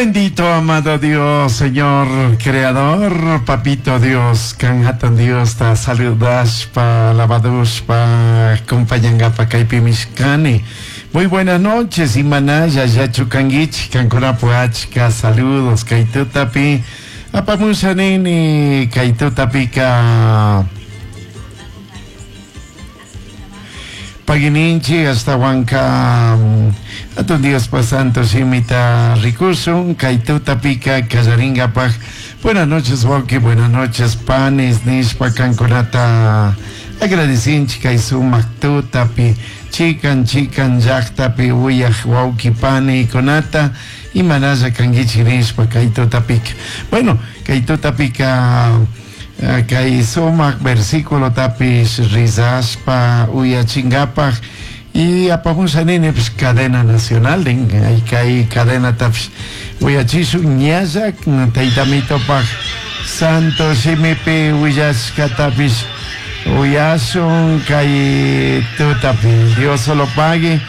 Bendito, amado Dios, Señor, Creador, Papito Dios, kan hatun Diosta saludashpa, alabadushpa, acompañangapa kaypimi kani. Muy buenas noches, imanalla llachu kanguichik, kankunapu achka saludos kay tutapi. Apamusha nini kay tutapika Pagininchi ashtahuanka Hatun Diospa Santo Shimita rikushun kay tutapika kallaringapaj. Buenas noches wawki, buenas noches panis nishpa kankunata agradecinchik kay sumak tutapi chikan chikan llaktapi uyaj wawki panikunata imanalla kanguichik nishpa kay tutapika. Bueno, kay tutapika kay sumak versículotapish rizashpa uyachingapaj y apamusha nini cadena nacional din kay cadenatapish uyachishun ñalla taytamitopaj santo shimipi willashkatapish uyashun kay tutapi. Dios lo pague.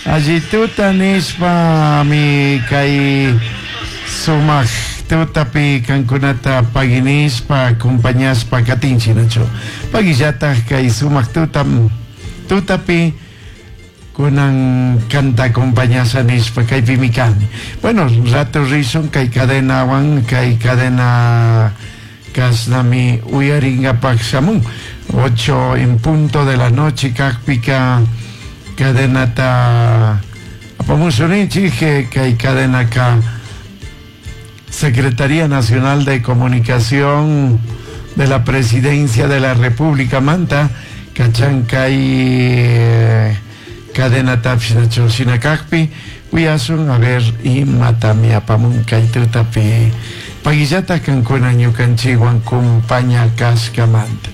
Alli tuta nishpa mi kay sumak tutapi kankunata paginishpa acompañashpa katinchik nachu. Pagillataj kay sumak tuta tutapi kunan kanta acompañasha nishpa kaypimi kani. Bueno, rato rishun kay cadenawan kay cadena kashnami uyaringapak shamun. 8 en punto de la noche kakpika cadenata apamushunchik kay cadenaka Secretaría Nacional de Comunicación de la Presidencia de la República Manta, kachankay cadena tapshinachu shinakakpi uyasun a ver imatami apamun kay tutapi paguillata kankuna ñukanchikwan kumpaña kashkamanta.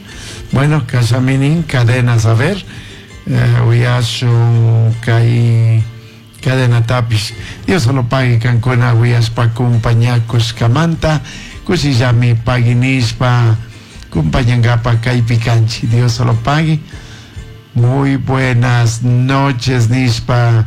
Bueno, kasaminin cadenas a ver, uyasun kay cadena tapish. Dios solo pague kankuna uyashpa kumpañakushkamanta kushillami paginishpa kumpañangapa kaypi kanchik. Dios solo pague. Muy buenas noches nishpa.